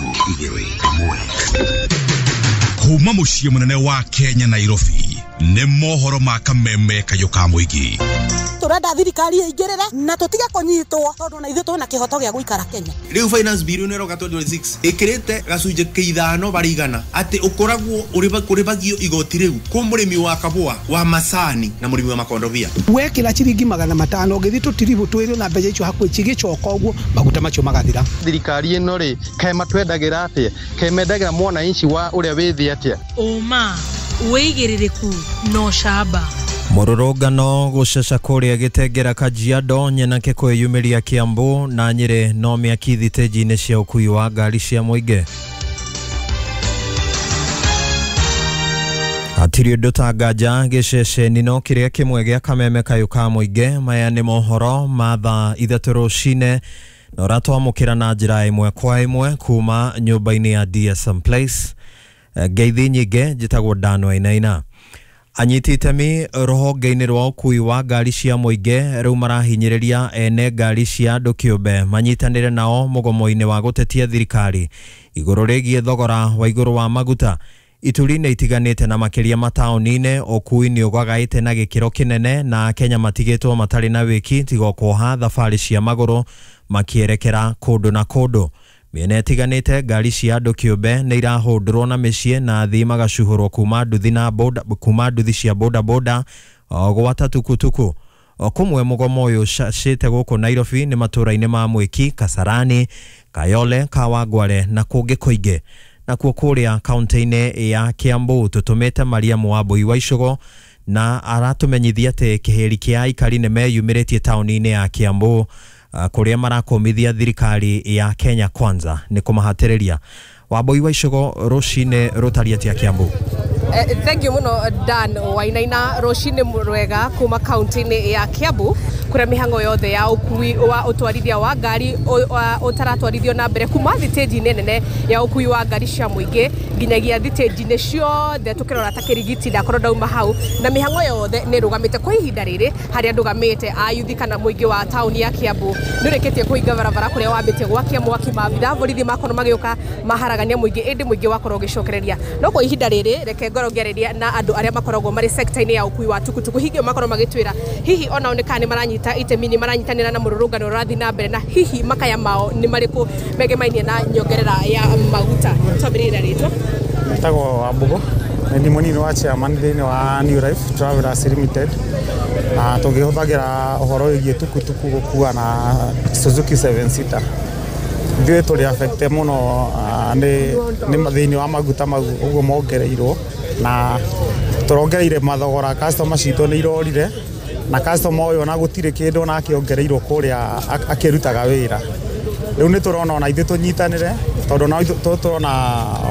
3 2 1. Kuma muciĩ mũnene wa Kenya Nairobi nĩ mohoro ma kameme kayũ ka mũingĩ. Turenda thirikari ĩingĩrĩre na tũtige kũnyitwo tondũ na ithuĩ twĩna kĩhoto gĩa gũikara Kenya. Rĩu finance bill nĩ ĩroka 2026 ĩkĩrĩte gacunjĩ kĩa ithano barĩ igana atĩ ũkoragwo ũrĩbagio igoti rĩu kũ mũrĩmi wa kabũa wa macani na mũrĩmi wa makondobia. Wekĩra ciringi 500 ũgĩthiĩ tũtiribũ twĩrĩ na mbeca icio hakuhĩ cigĩcoka ũguo maguta macio magathira. Thirikari ĩno rĩ kaĩ matwendagĩra atĩa, kaĩ mendagĩra mwananchi wa ũrĩa wĩ thĩ atĩa? Ũma wĩigĩrĩrĩku no ũcamba. Mũrũrũngano gũceca kũrĩa Gĩtengera Kajiado nyenake kwĩyumĩria Kiambu na Nyĩrĩ no mĩaki thitĩnji-inĩ cia ũkui wa ngari cia mũingĩ. Hatirĩ ũndũ ta nganja gĩceceni no kĩrĩa kĩmwe gĩa kameme kayũ ka mũingĩ. Maya nĩ mohoro ma thaa 3 rũcinĩ na ũratwamũkĩra na njĩra ĩmwe kwa ĩmwe kuma nyũmba-inĩ ya DSM Place. Ngeithi nyingĩ, njĩtagwo Dan Wainaina. Anyiti itemi rũhonge-inĩ rwa ũkui wa ngari cia mũingĩ rĩu marahinyĩrĩria ene ngari cia andũ kĩũmbe manyitanĩre nao mũgomo-inĩ wa gũtetia thirikari igũrũ rĩgiĩ thogora wa igũrũ wa maguta. Ituri-inĩ itiganĩte na makĩria mataũni-inĩ ũkui nĩ ũgagaĩte na gĩkĩro kĩnene na Kenya matigĩtwo matarĩ na wĩki tiga kuoha thabarĩ cia magũrũ makĩerekera kũndũ na kũndũ. Mĩena ĩtiganĩte ngari cia andũ kĩũmbe nĩ irahũndũrwo na mĩciĩ na athii magacuhũrwo kuma nduthi na boda, kuma nduthi cia bodaboda gwata tukutuku. Kũmwe mũgomo ũyũ ũcacĩte gũkũ Nairobi nĩ matũũra-inĩ ma Mwĩki, Kasarani, Kayole, Kawangware na kũngĩ kũingĩ. Nakuo kũrĩa kaunti-inĩ ya Kiambu tũtũmĩte Mariamu Wambui wa Icũgũ na aratũmenyithia atĩ kĩhĩri kĩa aikari nĩ meyumĩrĩtie taũni-inĩ ya Kiambu kũrĩa marakũmithia thirikari ya Kenya Kwanza nĩ kũmahatĩrĩria. Wambui wa Icũgũ, rũcinĩ rũtariĩ atĩa Kiambu? Thank you muno Dan Wainaina. Rũcinĩ rwega kuma kaunti-inĩ ya Kiambu kũrĩa mĩhang'o yothe ya ũkui wa ũtwarithia wa ngari ũtaratwarithio na mbere kuma thitĩnji-inĩ nene ya ũkui wa ngari cia mũingĩ nginyagia thitĩnji-inĩ ciothe tũkĩrora ta Kĩrigiti ndakorwo ndauma hau na mĩhang'o yothe nĩ ĩrũgamĩte kwa ihinda rĩrĩ. Harĩa ndũgamĩte ayuthi kana mũingĩ wa taũni ya Kiambu nĩ ũrĩkĩtie kũhinga barabara kũrĩa wambĩtie gwakia mwaki maabitha borithi makorwo magĩũka maharagania mũingĩ ĩndĩ mũingĩ wakorwo ũgĩcokereria. No kwa ihinda rĩrĩ reke ngorwo ngĩarĩria na andũ arĩa makoragwo marĩ sector-inĩ ya ũkui wa tukutuku hihi makorwo magĩtwĩra hihi onao nĩ kana nĩ maranyita itemi nĩ maranyitanĩra na mũrũrũngano ũrathiĩ na mbere na hihi makaya mao nĩ marĩkũ megemainie na nyongerera ya maguta. Twambĩrĩrie na rĩtwa. Njĩtagwo Wambũgũ, nĩ mũnini wa chairman thĩinĩ wa New Life Travelers Limited na tũngĩhũthagĩra ũhoro wĩgiĩ tukutuku gũkua na Suzuki 7 seater. Ithuĩ tũrĩ affected mũno nĩ thĩinĩ wa maguta mau ũguo mongereirwo na tũrongereire mathogora, customer citũ nĩ irorire na customer ũyũ ona gũtirĩ kĩndũ ona akĩongereirwo kũrĩa akĩrutaga wĩra. Rĩu nĩ tũrona ona ithuĩ tũnyitanĩre tondũ ona tũrona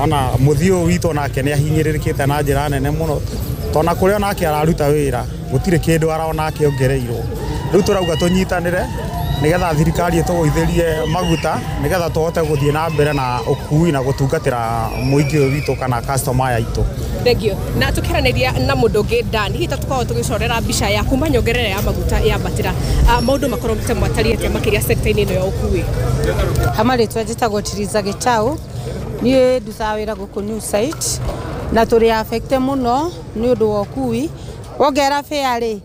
ona mũthiĩ ũyũ witũ onake nĩ ahinyĩrĩrĩkĩte na njĩra nene mũno tondũ ona kũrĩa onake araruta wĩra gũtirĩ kĩndũ arona akĩongereirwo. Rĩu tũrauga tũnyitanĩre nĩgetha thirikari ĩtũgũithĩrie maguta nĩgetha tũhote gũthiĩ na mbere na ũkui na gũtungatĩra mũingĩ ũyũ witũ kana customer aya aitũ. Thank you. Na tũkĩaranĩria na mũndũ ũngĩ Dan, hihi ta tũkoragwo tũgĩcorera mbica ya kuma nyongerera ya maguta yambatĩra, maũndũ makorwo ta matariĩ atĩa makĩria sector-inĩ ĩno ya ũkui? Hama rĩtwa njĩtagwo Tiriza Gĩtaũ, niĩ ndutaga wĩra gũkũ New Site na tũrĩ affected mũno nĩ ũndũ wa ũkui. Wongerera fare rĩ,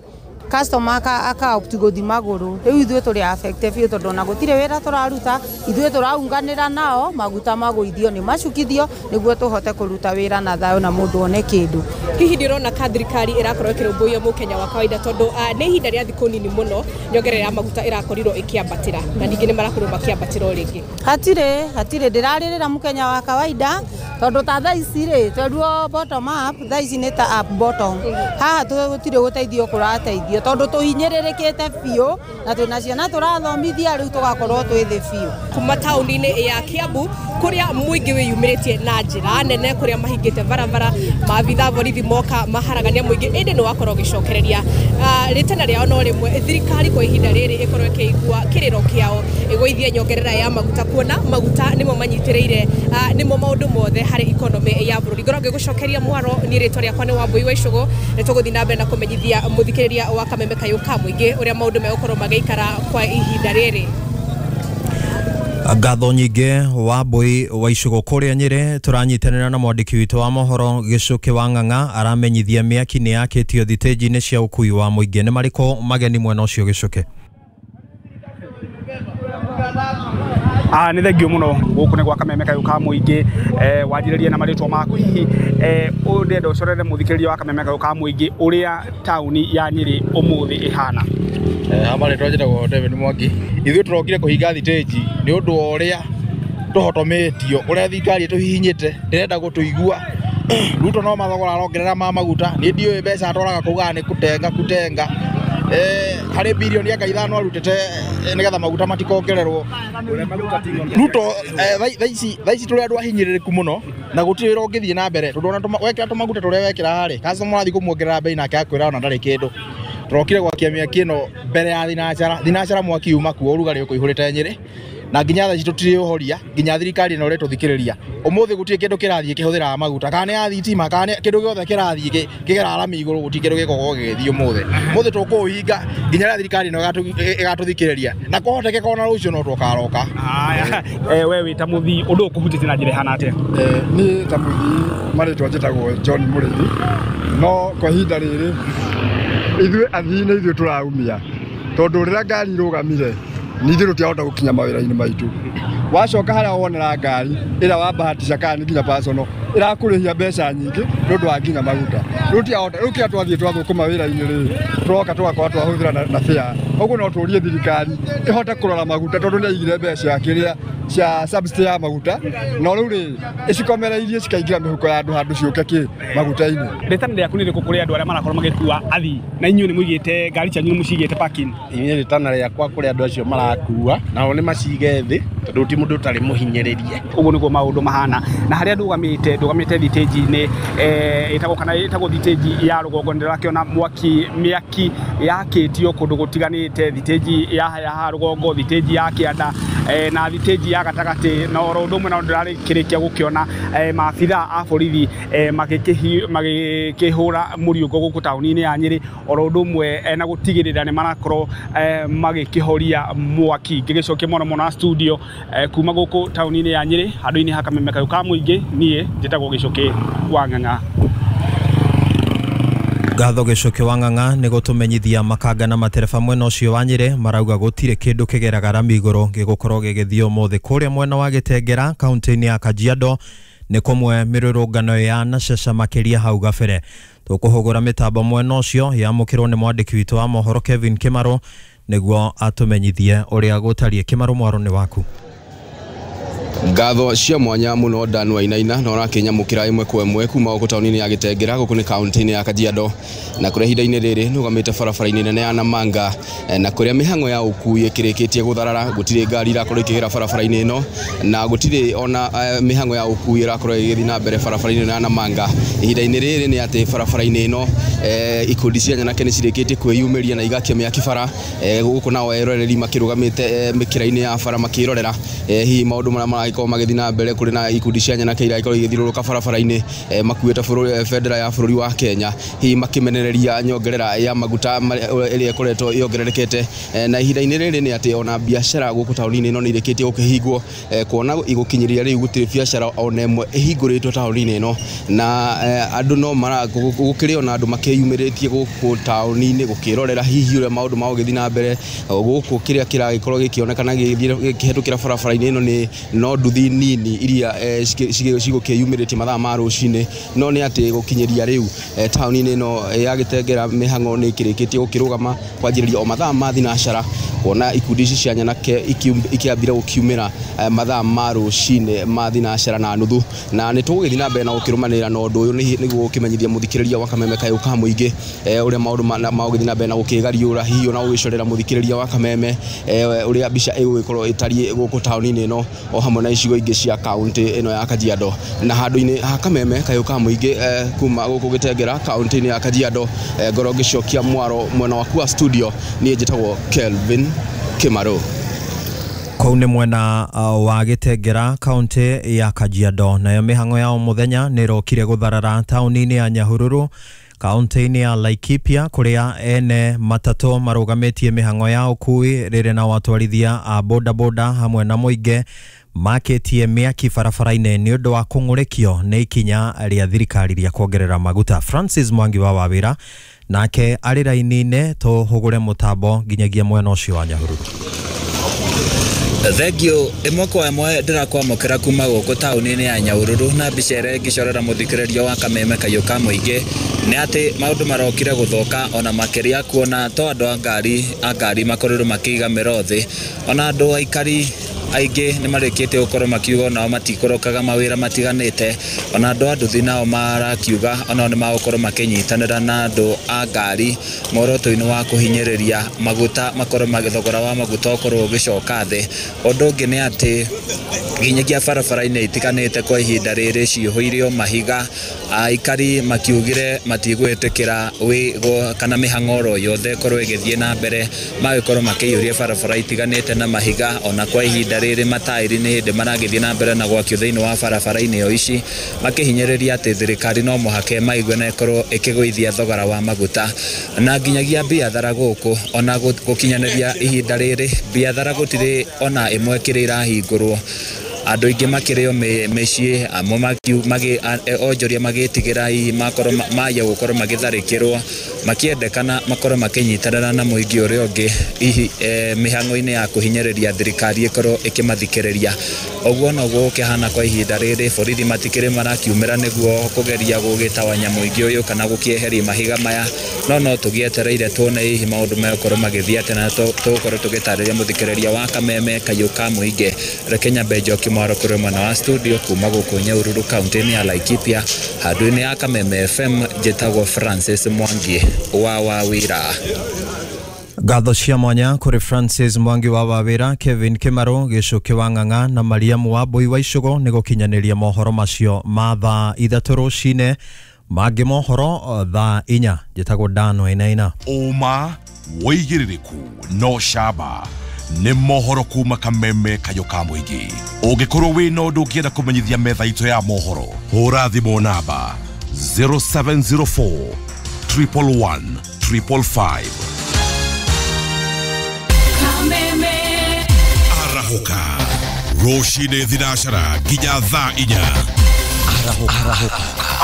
customer aka opt gũthiĩ magũrũ. Rĩu ithuĩ tũrĩ affected biũ tondũ ona gũtirĩ wĩra tũraruta, ithuĩ tũraunganĩra nao maguta magũithio nĩ macukithio nĩguo tũhote kũruta wĩra na thayũ na mũndũ one kĩndũ. Hihi ndĩrona ka thirikari ĩrakorwo ĩkĩrũmbũiya mũkenya wa kawaida tondũ nĩ ihinda rĩa thikũ nini mũno nyongerera ya maguta ĩrakorirwo ĩkĩambatĩra na ningĩ nĩ marakorirwo makĩambatĩra o rĩngĩ. Hatirĩ ndĩrarĩrĩra mũkenya wa kawaida tondũ ta thaa ici rĩ twerirwo bottom up, thaa ici nĩ ta up bottom. Haha gũtirĩ gũteithio kũrateithio tondũ tũhinyĩrĩrĩkĩte biũ na twĩna ciana tũrathomithia rĩu tũgakorwo twĩ thĩ biũ. Kuma taũni-inĩ ya Kiambu kũrĩa mũingĩ wĩyumĩrĩtie na njĩra nene kũrĩa mahingĩte barabara maabitha borithi moka maharagania mũingĩ ĩndĩ nĩ wakorwo ũgĩcokereria rĩtana rĩao no rĩmwe thirikari kwa ihinda rĩrĩ ĩkorwo ĩkĩigua kĩrĩro kĩao ĩgũithie nyongerera ya maguta kuona maguta nĩmo manyitĩrĩire nĩmo maũndũ mothe harĩ economy ya bũrũri. Ngorwo ngĩgũcokeria mwaro niĩ rĩtwa rĩakwa nĩ Wambui wa Icũgũ nĩ tũgũthiĩ na mbere na kũmenyithia mũthikĩrĩria wa kameme kayũ ka mũingĩ ũrĩa maũndũ megũkorwo magĩikara kwa ihinda rĩrĩ. Ngatho nyingĩ Wambui wa Icũgũ kũrĩa Nyĩrĩ. Tũranyitanĩra na mwandĩki witũ wa mohoro Gĩcũkĩ wa Ng'ang'a, aramenyithia mĩaki nĩ yakĩtio thitĩnji-inĩ cia ũkui wa mũingĩ. Nĩ marĩkũ mageni mwena ũcio, Gĩcũkĩ? Nĩ thengio mũno. Gũkũ nĩ gwa Kameme kayũ ka mũingĩ. Wanjĩrĩrie na marĩtwa maku hihi, ũyũ ndĩrenda ũcorere mũthikĩrĩria wa Kameme kayũ ka mũingĩ ũrĩa taũni ya Nyĩrĩ ũmũthĩ ĩhana. Ha marĩtwa njĩtagwo David Mwangi. Ithuĩ tũrokire kũhinga thitĩnji nĩ ũndũ wa ũrĩa tũhotomĩtio, ũrĩa thirikari ĩtũhihinyĩte, ndĩrenda gũtũigua. Ruto no mathogora arongerera ma maguta. Niĩ ndiũĩ mbeca atwaraga kugaga nĩ kutenga kutenga. Harĩ birioni anga 5 arutĩte nĩgetha maguta matikongererwo. Ruto, thaa ici tũrĩ andũ ahinyĩrĩrĩku mũno na gũtirĩ wĩra ũngĩthiĩ na mbere, tondũ ona wekĩra tũmaguta tũrĩa wekĩra rĩ, customer ũrathiĩ kũmuongerera bei nake akwĩra ona ndarĩ kĩndũ. Tũrokire gwakia mĩaki ĩno mbere ya thinacara. Thinacara mwaki uma kuo, ũrugarĩ ũkũihũrĩte Nyĩrĩ, na nginya thaa ici tũtirĩ ũhoria nginya thirikari ĩno ĩrĩtũthikĩrĩria. Ũmũthĩ gũtirĩ kĩndũ kĩrathiĩ kĩhũthĩraga maguta, kana nĩ ya thitima, kana nĩ kĩndũ gĩothe kĩrathiĩ kĩgeraga rami igũrũ, gũtirĩ kĩndũ gĩkoragwo gĩgĩthiĩ ũmũthĩ. Ũmũthĩ tũkũũhinga nginya rĩrĩa thirikari ĩno ĩgatũthikĩrĩria, na kũhotekeka ona rũciũ no tũkaroka. Haya, we wĩ ta mũthii, ũndũ ũyũ ũkũhutĩtie na njĩra ĩhana atĩa? Niĩ ta mũthii marĩtwa njĩtagwo John Mũrĩithi, no kwa ihinda rĩrĩ ithuĩ athii nĩ ithuĩ tũraumia, tondũ rĩrĩa ngari irũgamire nithuĩ tũtiahota gũkinya mawĩra-inĩ maitũ. Wacoka harĩa wonera ngari ĩrĩa wabahatisha kana nĩ nginya personal ĩrakũrĩhia mbeca nyingĩ nĩ ũndũ wa nginya maguta. Rĩu tiahota, rĩu kĩrĩa twathiĩ twathũkũma wĩra-inĩ rĩ, tũroka tũgakorwo twahũthĩra na fare. Ũguo no tũrie thirikari ĩhote kũrora maguta, tondũ nĩ yaigire mbeca kĩrĩa cia subsidy ya maguta, no rĩu rĩ ĩcikomereirie cikaingĩra mĩhuko ya andũ handũ ciũke kĩ maguta-inĩ. Rĩtana rĩaku nĩ rĩrĩkũ kũrĩ andũ arĩa marakorwo magĩkua athii, na inyuĩ nĩ mũigĩte ngari cianyu, nĩ mũcigĩte parking? Inyuĩ rĩtana rĩakwa kũrĩ andũ acio marakua, nao nĩ macige thĩ, tondũ ti mũndũ ũtarĩ mũhinyĩrĩrie. Ũguo nĩguo maũndũ mahana. Na harĩa ndũgamĩte thitĩnji-inĩ ĩtagwo kana ĩtagwo thitĩnji ya rũgongo, nĩndĩrakĩona mwaki mĩaki yakĩtio kũndũ gũtiganĩte, thitĩnji ya haha rũgongo, thitĩnji ya kĩanda, na thitĩnji ya gatagatĩ, na oro ũndũ ũmwe na ndĩrarĩkĩrĩkia gũkĩona maabitha a borithi magĩkĩhũra mũriũngo gũkũ taũni-inĩ ya Nyĩrĩ, oro ũndũ ũmwe na gũtigĩrĩra nĩ marakorwo magĩkĩhoria mwaki. Ngĩgĩcokia mũno mũno na studio kuma gũkũ taũni-inĩ ya Nyĩrĩ, handũ-inĩ ha Kameme kayũ ka mũingĩ, niĩ njĩtagwo Gĩcũkĩ wa Ng'ang'a. Ngatho Gĩcũkĩ wa Ng'ang'a nĩ gũtũmenyithia makanga na matereba mwena ũcio wa Nyĩrĩ marauga gũtirĩ kĩndũ kĩgeraga rami igũrũ gĩgũkorwo gĩgĩthiĩ ũmũthĩ. Kũrĩa mwena wa Gĩtengera kaunti-inĩ ya Kajiado nĩ kũmwe mĩrũrũngano ya Nacece makĩria hau gabere. Tũkũhũgũra mĩtambo mwena ũcio yamũkĩrwo nĩ mwandĩki witũ wa mohoro Kevin Kĩmarũ nĩguo atũmenyithie ũrĩa gũtariĩ. Kĩmarũ, mwaro nĩ waku. Ngatho cia mwanya mũno Dan Wainaina, na ũrakĩnyamũkĩra ĩmwe kwa ĩmwe kuma gũkũ taũni-inĩ ya Gĩtengera, gũkũ nĩ kaunti-inĩ ya Kajiado, na kũrĩa ihinda-inĩ rĩrĩ nũgamĩte barabara-inĩ nene ya Namanga, na kũrĩa mĩhang'o ya ũkui ĩkĩrĩkĩtie gũtharara. Gũtirĩ ngari irakorwo ikĩgera barabara-inĩ ĩno, na gũtirĩ ona mĩhang'o ya ũkui ĩrakorwo ĩgĩthiĩ na mbere barabara-inĩ ĩno ya Namanga. Ihinda-inĩ rĩrĩ nĩ atĩ barabara-inĩ ĩno ikundi cia nyanake nĩ cirĩkĩtie kwĩyumĩria na igakia mĩaki bara gũkũ, nao eroreri makĩrũgamĩte mĩkĩra-inĩ ya bara makĩrorera hihi maũndũ marĩa maragĩkorwo magĩthiĩ na mbere. Kũrĩ na ikundi cia nyanake iragĩkorwo igĩthiũrũrũka barabara-inĩ makuĩte bendera ya bũrũri wa Kenya, hihi makĩmenereria nyongerera ya maguta ĩrĩa ĩkoretwo yongererekete. Na ihinda-inĩ rĩrĩ nĩ atĩ ona biacara gũkũ taũni-inĩ ĩno nĩ irĩkĩtie gũkĩhingwo, kuona igũkinyĩria rĩu gũtirĩ biacara ona ĩmwe ĩhingũrĩtwo taũni-inĩ ĩno, na andũ no mara gũkĩrĩ ona andũ makĩyumĩrĩtie gũkũ taũni-inĩ gũkĩrorera hihi ũrĩa maũndũ magũgĩthiĩ na mbere gũkũ. Kĩrĩa kĩragĩkorwo gĩkĩonekana gĩkĩhetũkĩra barabara-inĩ ĩno nĩ no nduthi nini iria cigũkĩyumĩrĩtie mathaa ma rũcinĩ, no nĩ atĩ gũkinyĩria rĩu taũni-inĩ ĩno ya Gĩtengera mĩhang'o nĩ ĩkĩrĩkĩtie gũkĩrũgama kwanjĩrĩria o mathaa ma thinacara, kuona ikundi ici cia nyanake ikĩambire gũkiumĩra mathaa ma rũcinĩ ma thinacara na nuthu. Na nĩ tũgũgĩthiĩ na mbere na gũkĩrũmanĩrĩra na ũndũ ũyũ nĩguo gũkĩmenyithia mũthikĩrĩria wa Kameme kayũ ka mũingĩ ũrĩa maũndũ magũgĩthiĩ na mbere na gũkĩgariũra, hihi ona gũgĩcorera mũthikĩrĩria wa Kameme ũrĩa mbica ĩgũgĩkorwo ĩtariĩ gũkũ taũni-inĩ ĩno o hamwe na icigo ingĩ cia kaunti ĩno ya Kajiado. Na handũ-inĩ ha Kameme kayũ ka mũingĩ kuma gũkũ Gĩtengera kaunti-inĩ ya Kajiado, ngorwo ngĩcokia mwaro mwena waku wa studio. Niĩ njĩtagwo Kelvin Kĩmarũ. Kũu nĩ mwena wa Gĩtengera kaunti ya Kajiado. Nayo mĩhang'o ya o mũthenya nĩ ĩrokire gũtharara taũni-inĩ ya Nyahururu. Kaunti-inĩ ya Laikipia kũrĩa ene matatũ marũgamĩtie mĩhang'o ya ũkui rĩrĩ na watwarithia a bodaboda hamwe na mũingĩ makĩtie mĩaki barabara-inĩ nĩ ũndũ wa kũng'ũrĩkio nĩ ikinya rĩa thirikari rĩa kuongerera maguta. Francis Mwangi wa Wawĩra nake arĩ raini-inĩ, tũhũgũre mũtambo nginyagia mwena ũcio wa Nyahururu. Thengio ĩmwe kwa ĩmwe ndĩrakwamũkĩra kuma gũkũ taũni-inĩ ya Nyahururu na mbica ĩrĩa ĩngĩcorera mũthikĩrĩria wa Kameme Kayũ ka mũingĩ nĩ atĩ maũndũ marokire gũthũka ona makĩria kuona to andũ a ngari makorirwo makĩiga mĩro thĩ, ona andũ aikari aingĩ nĩ marĩkĩtie gũkorwo makiuga onao matikũrokaga mawĩra matiganĩte, ona andũ a nduthi nao marakiuga onao nĩ magũkorwo makĩnyitanĩra na andũ a ngari muoroto-inĩ wa kũhinyĩrĩria maguta makorwo thogora wa maguta ũkorwo ũgĩcoka thĩ. Ũndũ ũngĩ nĩ atĩ nginyagia barabara-inĩ itiganĩte kwa ihinda rĩrĩ cihũire mahiga, aikari makiugire matigwĩtĩkĩra kana mĩhang'o oro yothe ĩkorwo ĩgĩthiĩ na mbere, magĩkorwo makĩiyũria barabara itiganĩte na mahiga. Ona kwa ihinda rĩrĩ mataĩri nĩ hĩndĩ maragĩthiĩ na mbere na gwakio thĩinĩ wa barabara-inĩ o ici, makĩhinyĩrĩria atĩ thirikari no mũhaka ĩmaigue na ĩkorwo ĩkĩgũithia thogora wa maguta. Na nginyagia biathara gũkũ ona gũkinyanĩria ihinda rĩrĩ biathara gũtirĩ ona ĩmwe kĩrĩ ĩrahingũrwo, andũ aingĩ makĩrĩo mĩciĩ, amwe onjoria magĩtigĩra hihi makorwo maya gũkorwo magĩtharĩkĩrwo, makĩendekana makorwo makĩnyitanĩra na mũingĩ ũrĩa ũngĩ hihi mĩhang'o-inĩ ya kũhinyĩrĩria thirikari ĩkorwo ĩkĩmathikĩrĩria. Ũguo noguo gũkĩhana kwa ihinda rĩrĩ, borithi matikĩrĩ marakiumĩra nĩguo kũgeria gũgĩtawanya mũingĩ ũyũ kana gũkĩeheria mahiga maya, no tũgĩetereire tuone hihi maũndũ megũkorwo magĩthiĩ atĩa, na tũgũkorwo tũgĩtarĩria mũthikĩrĩria wa Kameme Kayũ ka mũingĩ. Reke nyambe njokie mwaro kũrĩ mwena wa studio kuma gũkũ Nyahururu kaunti-inĩ ya Laikipia, handũ-inĩ ya Kameme FM. Njĩtagwo Francis Mwangi wa Wawĩra. Ngatho cia mwanya kũrĩ Francis Mwangi wa Wawĩra, Kevin Kĩmarũ, Gĩcũkĩ wa Ng'ang'a na Mariamu wa Mbui wa Icũgũ nĩ gũkinyanĩria mohoro macio ma thaa 3 rũcinĩ. Mangĩ mohoro thaa 4. Njĩtagwo Dan Wainaina. Ũma wĩigĩrĩrĩku no camba nĩ mohoro kuma Kameme Kayũ ka mũingĩ. Ũngĩkorwo wĩna ũndũ ũngĩenda kũmenyithia metha itũ ya mohoro, hũra thimũ namba 0704 111 555. Arahũka rũcinĩ thinacara nginya thaa 4.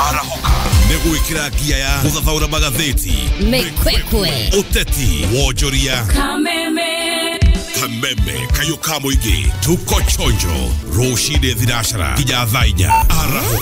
Arahũka nĩ gwĩkĩra ngia ya gũthathaũra magathĩti, mĩkwekwe, ũteti, wonjoria. Kameme Kayũ ka mũingĩ, tuko chonjo rũcinĩ thinacara nginya thaa 4. Arahũka.